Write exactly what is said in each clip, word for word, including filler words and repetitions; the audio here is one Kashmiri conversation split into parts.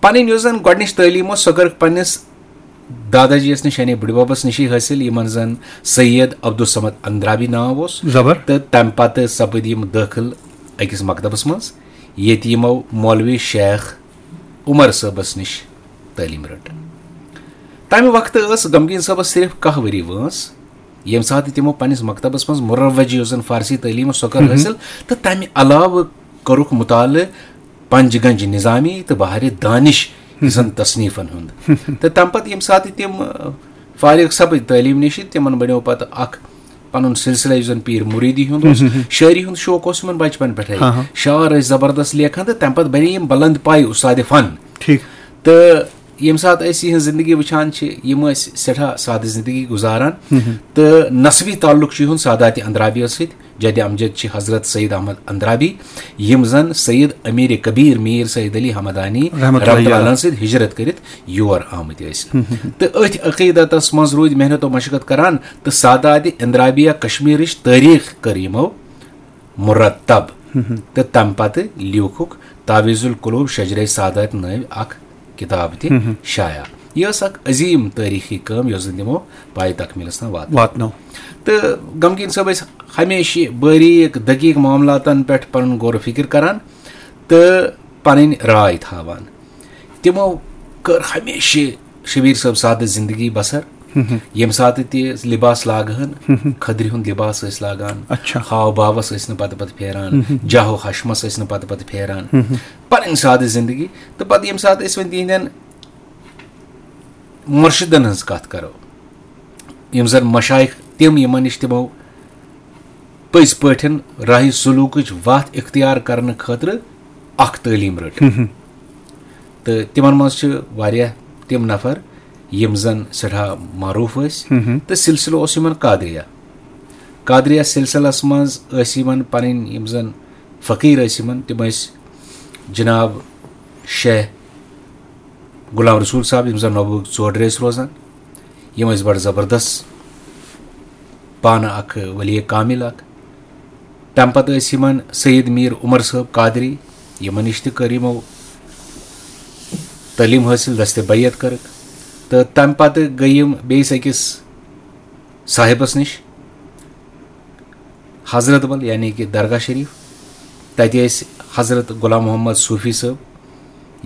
پنٕنۍ یۄس زن گۄڈٕنِچ تعلیٖم ٲس، سۄ کٔرٕکھ پننِس دادا جی یس نِش، یعنی بٕڈببس نِشی حٲصِل، یِمن زن سید عبدالصمد اندرابی ناو اوس۔ زبر۔ تہٕ تمہِ پتہٕ سپٕدۍ یِم دٲخل أکِس مکتبس منٛز، ییٚتہِ یِمو مولوی شیخ عمر صٲبس نِش تعلیٖم رٔٹ۔ تمہِ وقتہٕ ٲس غمگیٖن صٲبس صرف کاہ ؤری وٲنٛس، ییٚمہِ ساتہٕ تِمو پننِس مکتبس منٛز مروج یۄس زن فارسی تعلیٖم ٲس، سۄ کٔر حٲصِل، تہٕ تمہِ علاوٕ کوٚرُکھ مطالعہٕ پنج گنج نظامی تہٕ بحر دانش زن تصنیفن ہُنٛد۔ تہٕ تمہِ پتہٕ ییٚمہِ ساتہٕ تِم، آ، فارغ سپٕدۍ تعلیٖم نِش، تِمن بنیو پتہٕ اکھ پنُن سلسلہٕ، یُس زن پیٖر مُریٖدی ہُنٛد اوس۔ شٲعری ہُنٛد شوق اوس یِمن بچپن پٮ۪ٹھے۔ ہاں، ہاں۔ شعر ٲسۍ زبردست لیکھان، تہٕ تمہِ پتہٕ بنے یِم بلند پایہِ استاد فن۔ ٹھیک۔ تہٕ ییٚمہِ ساتہٕ أسۍ یِہنٛز زندگی وٕچھان چھِ، یِم ٲسۍ سٮ۪ٹھاہ سادٕ زندگی گُزاران، تہٕ نسبی تعلق چھُ یِہُنٛد سادات اندرابیس سۭتۍ۔ جد امجد چھِ حضرت سید احمد اندرابی، یِم زن سید امیر کبیر میر سید علی حمدانی رحمتہ اللہ رحمتہ اللہ علیہ۔ علیہ سۭتۍ ہجرت کٔرِتھ یور آمٕتۍ ٲسۍ۔ تہٕ أتھۍ عقیدتس منٛز روٗدۍ محنت و مشقت کران، تہٕ سادات اندرابیہ کشمیرٕچ تٲریٖخ کٔر یِمو مرتب۔ تہٕ تمہِ پتہٕ لیوٗکھُکھ تعویذ القلوب شجرے سادات نٲوۍ اکھ کتاب تہِ شایع۔ یہِ ٲس اکھ عظیٖم تٲریٖخی کٲم، یۄس زن تِمو پایہِ تکمیلس تام واتنٲو۔ واتنٲو۔ تہٕ غمگیٖن صٲب ٲسۍ ہمیشہِ باریٖک دقیٖق معاملاتن پٮ۪ٹھ پنُن غور و فکر کران تہٕ پنٕنۍ راے تھاوان۔ تِمو کٔر ہمیشہِ شبیر صٲب سادٕ زندگی بسر۔ ییٚمہِ ساتہٕ تہِ لباس لاگہٕ ہن، کھٔدرِ ہُنٛد لباس ٲسۍ لاگان، اچھا۔ ہاو باوس ٲسۍ نہٕ پتہٕ پتہٕ پھیران، جاہ و حشمس ٲسۍ نہٕ پتہٕ پتہٕ پھیران، پنٕنۍ سادٕ زندگی۔ تہٕ پتہٕ ییٚمہِ ساتہٕ أسۍ وۄنۍ تِہنٛدٮ۪ن مرشدن ہٕنٛز کتھ کرو، یِم زن مشایخ تِم، یِمن نِش تِمو پٔزۍ پٲٹھۍ راہی سلوکٕچ وتھ اختیار کرنہٕ خٲطرٕ اکھ تعلیٖم رٔٹ۔ تہٕ تِمن منٛز چھِ واریاہ تِم نفر یِم زن سٮ۪ٹھاہ معروٗف ٲسۍ، تہٕ سلسلہٕ اوس یِمن قادریہ۔ قادریہ سلسلس منٛز ٲسۍ یِمن پنٕنۍ یِم زن فقیٖر ٲسۍ یِمن، تِم ٲسۍ جناب شیخ غلام رسول صٲب، یِم زن نوبہٕ ژوڈرِ ٲسۍ روزان۔ یِم ٲسۍ بڑٕ زبردست، پانہٕ اکھ ولی کامل اکھ۔ تمہِ پتہٕ ٲسۍ یِمن سید میر عمر صٲب قادری، یِمن نِش تہِ کٔر یِمو تعلیٖم حٲصِل، دستِ بیعت کٔرٕکھ۔ تہٕ تمہِ پتہٕ گٔے یِم بیٚیِس أکِس صاحبس نِش، حضرت بل، یعنی کہِ درگاہ شریف۔ تتہِ ٲسۍ حضرت غلام محمد صوفی صٲب،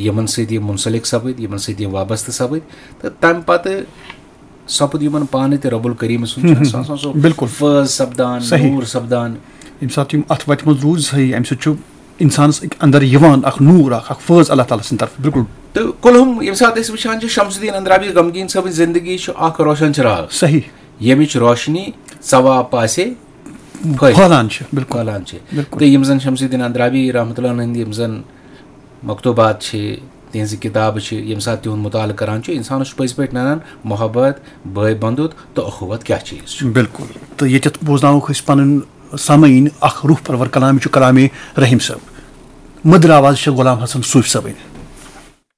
یِمن سۭتۍ یِم منسلک سپٕدۍ، یِمن سۭتۍ یِم وابستہٕ سپٕدۍ۔ تہٕ تمہِ پتہٕ سپُد یِمن پانہٕ تہِ رب الکریم سُنٛد چھُ آسان، سُہ آسان سُہ بالکل۔ فٲض سپدان، صحیح۔ نوٗر سپدان۔ ییٚمہِ ساتہٕ یِم اتھ وتہِ منٛز روٗزۍ صحیح، امہِ سۭتۍ چھُ انسانس أکۍ اندر یِوان اکھ نوٗر، اکھ اکھ فٲض اللہ تعالیٰ سٕنٛدِ طرفہٕ، بالکل۔ تہٕ کُلہُم ییٚمہِ ساتہٕ أسۍ وٕچھان چھِ، شمس الدین اندرابی غمگیٖن صٲبٕنۍ زندگی چھُ اکھ روشن چراغ، صحیح۔ ییٚمِچ روشنی ژوا پاسے پھٔلۍ پھٔہلان چھِ، بالکل۔ پھٔہلان چھِ۔ بالکل۔ تہٕ یِم زن شمس الدین اندرابی رحمتہ اللہ علیہ ہٕنٛدۍ یِم زن مکتوبات چھِ، تِہنٛزٕ کِتابہٕ چھِ، ییٚمہِ ساتہٕ تِہُنٛد مُطالعہٕ کران چھُ، انسانس چھُ پٔزۍ پٲٹھۍ ننان محبت، بٲے بندُت تہٕ اخوت کیٛاہ چیٖز چھُ۔ بالکل۔ تہٕ ییٚتٮ۪تھ بوزناووکھ أسۍ پنٕنۍ سامعیٖن اکھ روح پرور کلام، یہِ چھُ کلامِ رحیم صٲب۔ مٔدٕر آواز چھےٚ غلام حسن صوفی صٲبٕنۍ۔